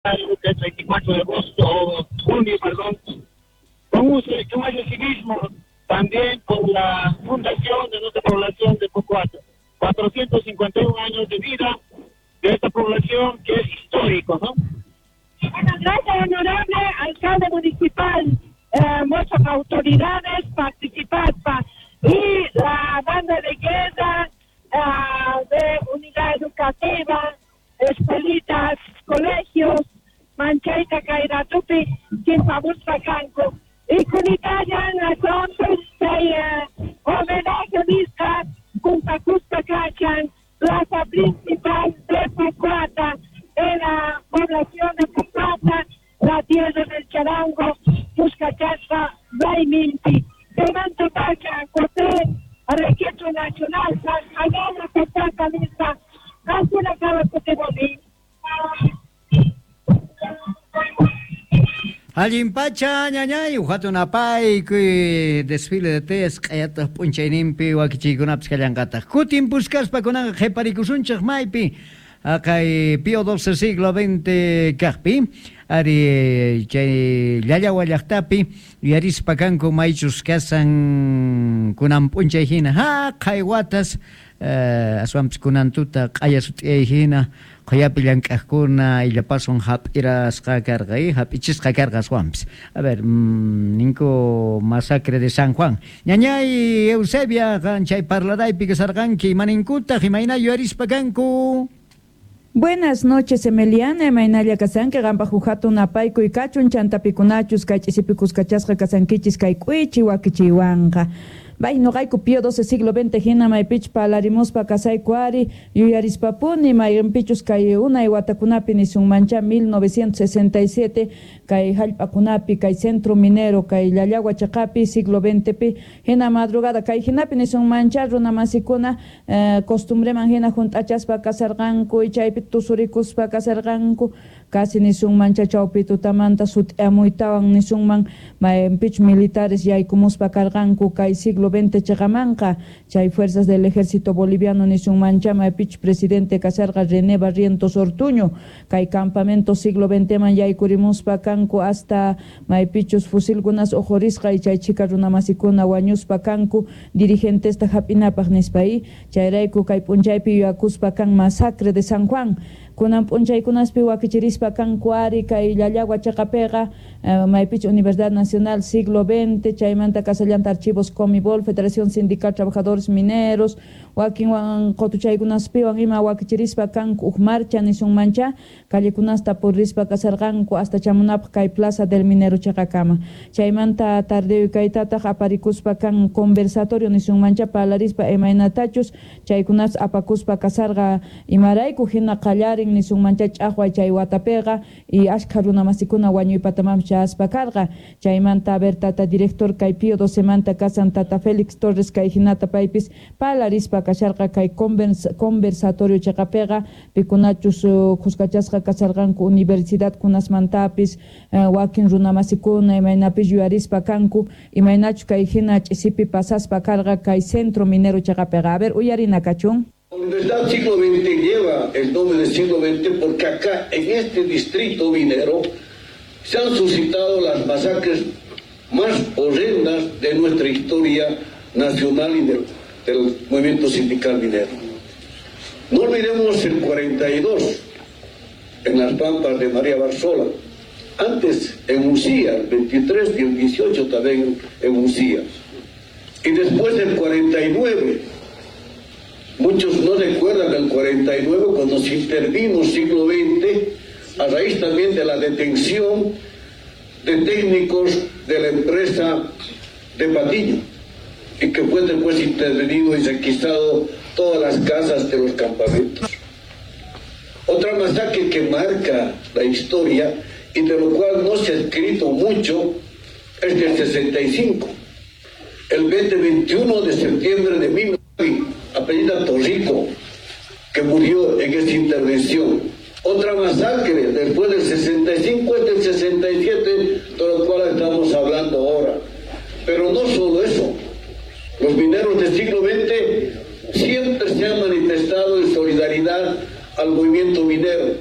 Que es 24 de agosto, junio, perdón, con un año civismo también por la fundación de nuestra población de Pocoata. 451 años de vida de esta población que es histórico, ¿no? Bueno, gracias, honorable alcalde municipal, muchas autoridades participantes y la banda de guerra de unidad educativa, escuelitas, colegios, manchayta kay ratupi chimpamuspa kanku. Y kunitayan entonces chay homenaje nisqa juntakuspa kachan plaza principal de Pocoata, en la población de Pocoata, la tierra del charango, Puskachaspa, Rayminpi. Chaymanta pacha, José, Registro Nacional, San Pocoata nisqa, qankuna kama kutimuni. Allin pacha ñañay, hatun apaykuy desfile de teyas q'ayataq p'unchayninpi wakichiykunapis kallanqataq. Kutin puskaspa kunanqa qhiparikusunchik maypi haqay Pío XII siglo XX kaqpi ari chay Llallawa llaqtapi yuyarispa kanku maychus kasan kunan p'unchay hina haqay watas aswanpis kunan tuta q'aya sut'iyay hina qhuyapi llank'aqkuna illapaswan hap'irasqa karqa hap'ichisqa karqa aswanpis. A ver, ninku masacre de San Juan. Ñañay Eusebia, qan chay parlaraypi kasarqanki, imaninkutaq imayna yuyarispa kanku? Buenas noches, Emeliana, imaynalla kasanki, qampaq huk hatun apaykuy kachun, chantapikunachus, kay ch'isipikus kachasqa kasankichis kay k'uichi wakichiywanqa. Bay noqayku Pío XII siglo XX hina maypichus parlarimuspa kasayku ari yuyarispapuni mayqinpichus kay unay watakunapi nisunmancha 1967 kay hallp'akunapi kay centro minero kay Llallagua chaqapi siglo XXpi hina madrugada kay hinapi nisunmancha runamasikuna costumbreman hina hunt'achaspa kasarqanku chaypi tusurikuspa kasarqanku casi nisunmancha chawpi tutamanta sut'amuytawan nisunman mayqinpichus militares yaykumuspa karqanku kay siglo XX chaqamanqa chay fuerzas del ejército boliviano nisunmancha maypichus presidente kasarqa René Barrientos Ortuño kay campamento siglo XX man yaykurimuspa kanku hasta maypichus fusilkunas uqhurisqa chay chhika runamasikuna wañuspa kanku dirigentesta hap'inapaq nispa chayrayku kay p'unchaypi yuyakuspa kan masacre de San Juan kunan p'unchaykunaspi wakichirispa kanku ari kay Llallagua chaqapiqa maypichu Universidad Nacional siglo XX chaymanta kasallanta archivos Comibol Federación Sindical Trabajadores Mineros wakinwan qutuchaykunaspiwan ima wakichirispa kanku huk marcha nisunmancha callekunasta purispa kasarqanku hasta chamunapaq kay Plaza del Minero chaqakama chaymanta tardeo kaytataq aparikuspa kan conversatorio nisunmancha parlarispa imaynatachus chaykunas apakuspa kasarqa imarayku hina qallarin nisunmancha ch'aqway chay watapiqa y ashkha runamasikuna wañuypatamanpis chayaspa karqa chaymanta a ver tata director kay Pío XII manta kasan tata Félix Torres kay hinata paypis parlarispa kasharqa kay conversatorio chaqapiqa pikunachus khuskachasqa kasarqanku universidad kunasmantapis wakin runamasikuna imaynapis yuyarispa kanku imaynachus kay hina ch'isipi pasaspa karqa kay centro minero chaqapiqa. A ver, uyarina kachun. La Universidad Siglo XX lleva el nombre del siglo XX porque acá, en este distrito minero, se han suscitado las masacres más horrendas de nuestra historia nacional y del movimiento sindical minero. No olvidemos el 42, en las pampas de María Barzola, antes en Ucía, el 23 y el 18 también en Ucía, y después el 49. Muchos no recuerdan el 49 cuando se intervino siglo XX a raíz también de la detención de técnicos de la empresa de Patiño y que fue después intervenido y requisado todas las casas de los campamentos. Otra masacre que marca la historia y de lo cual no se ha escrito mucho es del 65, el 21 de septiembre de 1900, apellida Torrico, que murió en esta intervención. Otra masacre después del 65 es del 67, de lo cual estamos hablando ahora. Pero no solo eso, los mineros del siglo XX siempre se han manifestado en solidaridad al movimiento minero.